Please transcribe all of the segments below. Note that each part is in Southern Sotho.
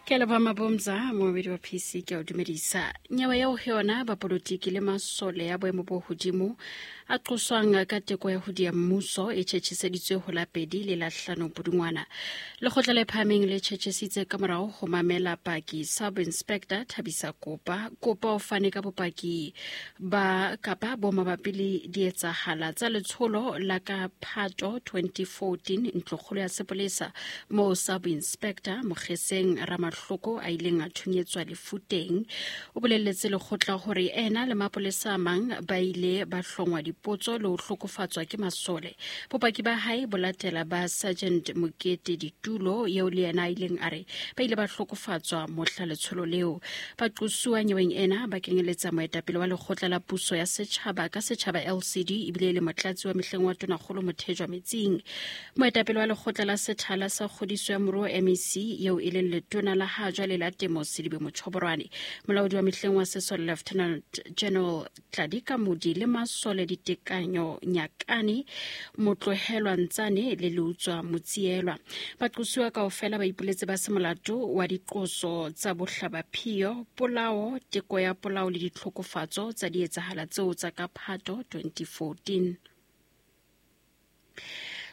Ke a leboha Mabomza, moobedi wa PC, ke a o dumedisa. Nyewe eo ho yona bapolotiki le masole ya boemo bo hodimo a qoswang ka teko ya ho dia mmuso e tjhetjheseditswe ho la pedi le la hlano Pudungwana. Lekgotla le phahameng le tjhetjhesitse ka morao ho mamela paki Sub Inspector Thabisa Kopa. Kopa o fane ka bopaki ba kapa bo mabapi le dietsahala tsa letsholo la ka Phato 2014 ntlokgolo ya sepolesa moo Sub Inspector Mokgeseng Ramahloko a ileng a thunyetswa lefu teng. O boleletse lekgotla hore ena le mapolesa a mang ba ile ba hlongwa dipotso le ho hlokofatswa ke masole. Bopaki ba hae bo latela ba Sergeant Mokete Ditulo eo le yena a ileng a re ba ile ba hlokofatswa mohla letsholo leo. Baqosuwa nyeweng ena ba kenyeletsa moetapele wa lekgotla la puso ya setjhaba ka setjhaba LCD ebile e le motlatsi wa mehleng wa tonakgolo Mothejwa Metsing. Moetapele wa lekgotla la sethala sa kgodiso ya moruo MEC eo e leng letona la ha jwale la temo Sedibe Mochoborwane. Molaodi wa mehleng wa sesole Lieutenant General Tladi Kamodi le masole Ditekanyo Nyakane, Motlohelwa Ntsane le Leutswa Motsielwa. Baqosuwa kaofela ba ipoletse ba se molato wa diqoso tsa bohlabaphiyo, polao, teko ya polao le ditlhokofatso tsa dietsahala tseo tsa ka Phato 2014.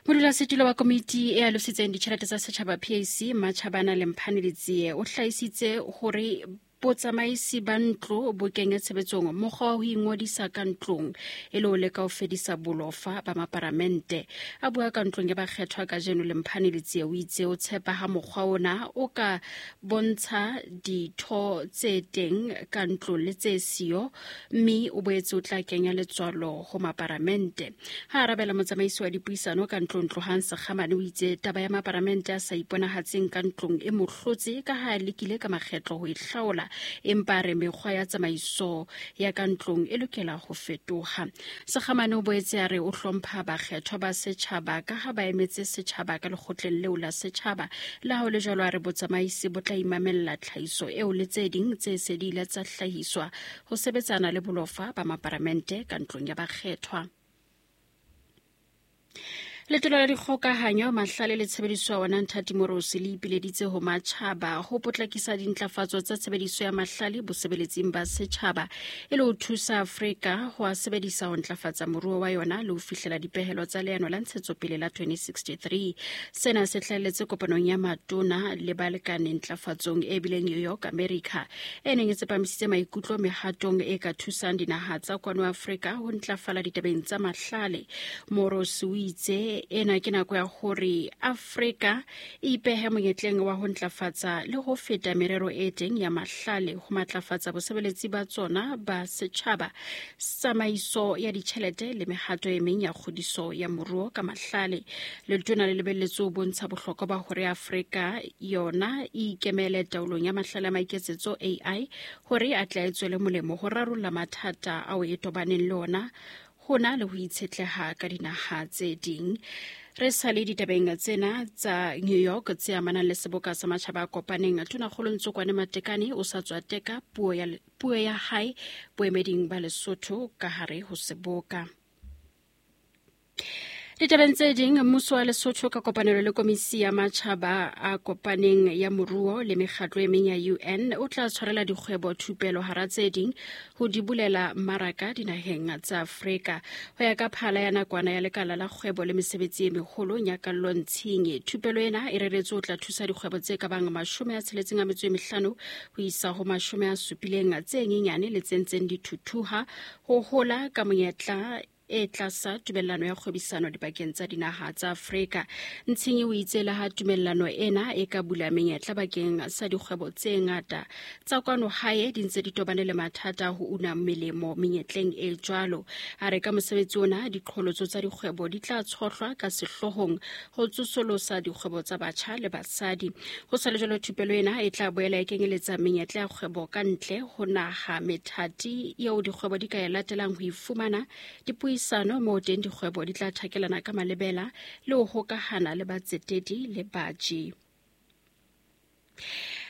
Modulasetulo wa komiti e alositseng ditjhelete tsa setjhaba PAC Matjhabana Lemphane Letsie o hlahisitse hore botsamaisi ba ntlo bo kenye tshebetsong mokgwa wa ho ingodisa ka ntlong e le ho leka ho fedisa bolofa ba maparamente. A bua ka ntlong ya bakgethwa kajeno, Lemphane Letsie o itse o tshepa ha mokgwa ona o ka bontsha ditho tse teng ka ntlong le tse siyo, mme o boetse o tla kenya letswalo ho maparamente. Ha arabela motsamaisi wa dipuisano ka ntlong Tlohang Sekgamane o itse taba ya maparamente a sa iponahatseng ka ntlong e mohlotse ka ha a lekile ka makgetlo ho e hlaola, empa a re mekgwa ya tsamaiso ya ka ntlong e lokela ho fetoha. Sekgamane o boetse a re o hlompha bakgethwa ba setjhaba ka ha ba emetse setjhaba ka lekgotleng leo la setjhaba. Le ha ho le jwalo a re botsamaisi bo tla imamella tlhahiso eo le tse ding tse se di ile tsa hlahiswa ho sebetsana le bolofa ba maparamente ka ntlong ya bakgethwa. Letona la dikgokahanyo, mahlale le tshebediso ya ona Nthati Morosi le ipileditse ho matjhaba ho potlakisa dintlafatso tsa tshebediso ya mahlale bosebeletsing ba setjhaba e le ho thusa Afrika ho a sebedisa ho ntlafatsa moruo wa yona le ho fihlela dipehelo tsa leano la ntshetsopele la 2063. Sena se hlahelletse kopanong ya matona le balekane ntlafatsong e bileng New York, America, e neng e tsepamisitse maikutlo mehatong e ka thusang dinaha tsa kwano Afrika ho ntlafala ditabeng tsa mahlale. Moros o itse ena ke nako ya hore Afrika e ipehe monyetleng wa ho ntlafatsa le ho feta merero e teng ya mahlale ho matlafatsa bosebeletsi ba tsona ba setjhaba, tsamaiso ya ditjhelete le mehato e meng ya kgodiso ya moruo ka mahlale. Letona le lebelletse ho bontsha bohlokwa ba hore Afrika yona e ikemele taolong ya mahlale a maiketsetso AI hore a tle a tswele molemo ho rarolla mathata ao e tobaneng le ona hona le ho itshetleha ka dinaha tse ding. Re sa le ditabeng tsena tsa New York tse amanang le seboka sa matjhaba a kopaneng, Tonakgolo Ntsokwane Matekane o sa tswa teka puo ya hae boemeding ba Lesotho ka hare ho seboka. Ditabeng tse ding, mmuso wa Lesotho ka kopanelo le komisi ya matjhaba a kopaneng ya moruo le mekgatlo e meng ya UN o tla tshwarela dikgwebo thupelo hara tse ding ho di bulela mmaraka dinaheng tsa Afrika. Ho ya ka phala ya nakwana ya lekala la kgwebo le mesebetsi e meholo Nyakallo Ntshingi, thupelo ena e reretswe ho tla thusa dikgwebo tse ka bang 65 ho isa ho 70 tse nyenyane le tse ntseng di thuthuha ho hola ka monyetla e tlasa tumellano ya kgwebisano dibakeng tsa dinaha tsa Afrika. Ntshinyi o itse le ha tumellano ena e ka bula menyetla bakeng sa dikgwebo tse ngata tsa kwano hae di ntse di tobane le mathata ho una melemo menyetleng e jwalo. A re ka mosebetsi ona diqholotso tsa dikgwebo di tla tshohlwa ka sehloohong ho tsosolosa dikgwebo tsa batjha le basadi. Ho sa le jwalo thupelo ena e tla boela e kenyeletsa menyetla ya kgwebo ka ntle ho naha, methati eo dikgwebo di ka e latelang ho ifumana dipuisano moo teng dikgwebo di tla thakelana ka malebela le ho hokahana le batsetedi le baji.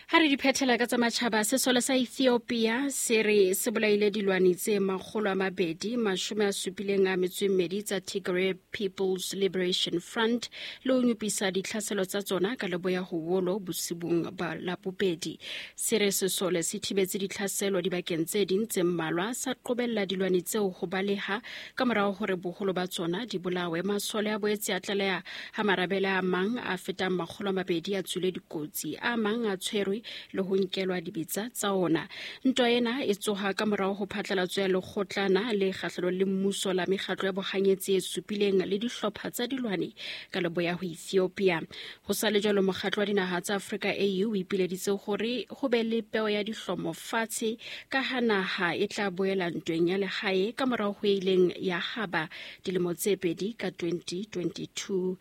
Ha re di phethela ka tsa matjhaba, sesole sa Ethiopia se re se bolaile dilwani tse 272 tsa Tigray People's Liberation Front le ho nyopisa ditlhaselo tsa tsona ka leboya ho Wolo bosibung ba Labobedi. Se re sesole se thibetse ditlhaselo dibakeng tse ding tse mmalwa, sa qobella dilwani tseo ho baleha ka morago hore boholo ba tsona di bolawe. Masole a boetse a tlaleha ha marabele a mang a fetang 200 a tswile dikotsi, a mang a tshwerwe le ho nkelwa dibetsa tsa ona. Ntwa ena e tsoha ka morago ho phatlalatso ya lekgotlana le kgahlanong le mmuso la mekgatlo ya bohanyetsi e supileng le dihlopha tsa dilwane ka leboya ho Ethiopia. Ho sa le jwalo, mokgatlo wa dinaha tsa Afrika AU o ipileditse hore ho be le peo ya dihlomo fatshe ka ha naha e tla boela ntweng ya lehae ka morago ho e ileng ya haba dilemo tse pedi ka 2022.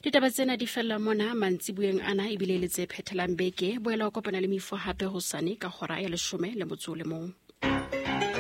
Ditaba tsena di fella mona mantsibueng ana ebile le tse phethelang beke. Boela o kopana le Mifo hape hosane ka hora ya 11.